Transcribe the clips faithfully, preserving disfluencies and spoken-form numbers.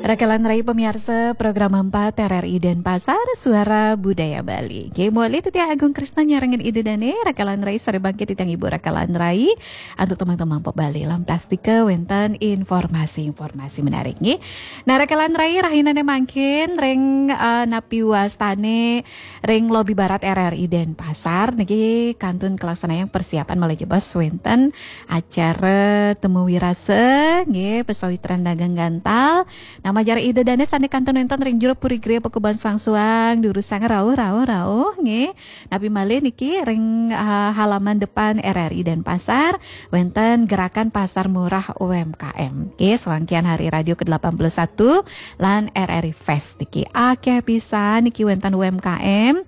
Rakalan rai pamiarsa program empat R R I Denpasar, Suara Budaya Bali. Oke, muali titiang Agung Krisna nyarengin Ida Dane, rakalan rai sareng mangkin titiang Ibu rakalan rai, antuk tembang-tembang pop Bali lan plastika wenten informasi-informasi menarik nggih. Nah, rakalan rai rahinane mangkin ring, eh, napi wastane ring lobi barat R R I Denpasar niki kantun kalaksanayang persiapan malih jebos wenten acara temu wirasa nggih, pasawitran dagang gantal. Nah, majeng Ida Dane sane kantun wenten ring Jero Puri Gria Pakuban Suang-Suang, durusang rauh, rauh, rauh nggih. Napi malih niki ring, eh, halaman depan R R I Denpasar wenten gerakan pasar murah U M K M. Nggih, serangkaian Hari Radio ke delapan puluh satu lan R R I Fest niki. Akeh pisan niki wenten U M K M.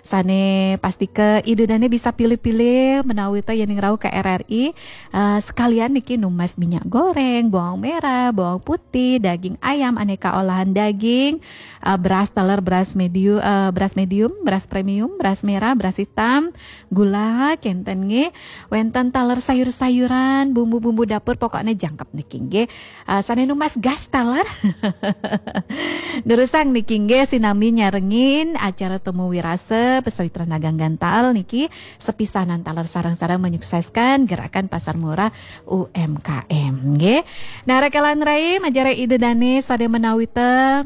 Sane pastika Ida Dane bisa pilih-pilih menawi ta yening rauh ke R R I, eh, sekalian niki numbas minyak goreng, bawang merah, bawang putih, daging ayam, aneka olahan daging, eh, beras taler, beras medium, eh, beras medium, beras premium, beras merah, beras hitam, gula, kenten nggih. Wenten taler sayur-sayuran, bumbu-bumbu dapur, pokoknya jangkep niki nggih. Ah, sane numbas gas taler. Durusang niki nggih sinami nyarengin acara temu wirasa pasawitran dagang gantal niki sepisanan taler sareng-sareng menyukseskan gerakan pasar murah U M K M nggih. Nah, rakalan rai majeng Ida Dane sane menawi ta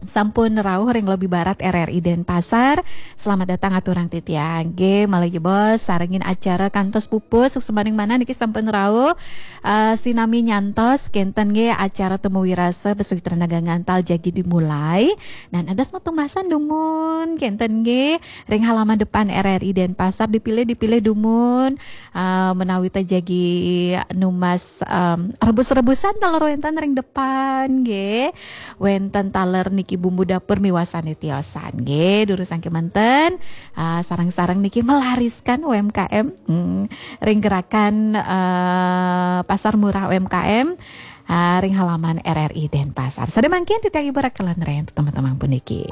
sampun rauh ring lobi barat R R I Denpasar. Selamat datang aturang titiang nggih, malih jebos sarengin acara kantos pupus suksmaning manah niki sampun rauh. Eh, sinami nyantos kenten nggih acara temu wirasa pasawitran dagang gantal jagi dimulai. Nah, dados metu masan dumun kenten nggih ring halaman depan R R I Denpasar, dipilih-dipilih dumun, eh, menawi ta jagi numbas, em, rebus-rebusan taler wenten ring depan nggih. Wenten taler niki bumbu dapur miwah sane tiosan nggih. Durusang kemanten, ah, sareng-sareng niki melariskan U M K M, hmm, ring gerakan, eh, pasar murah U M K M, ah, ring halaman R R I Denpasar. Sane mangkin titiang Ibu rakalan rai, teman-teman puniki.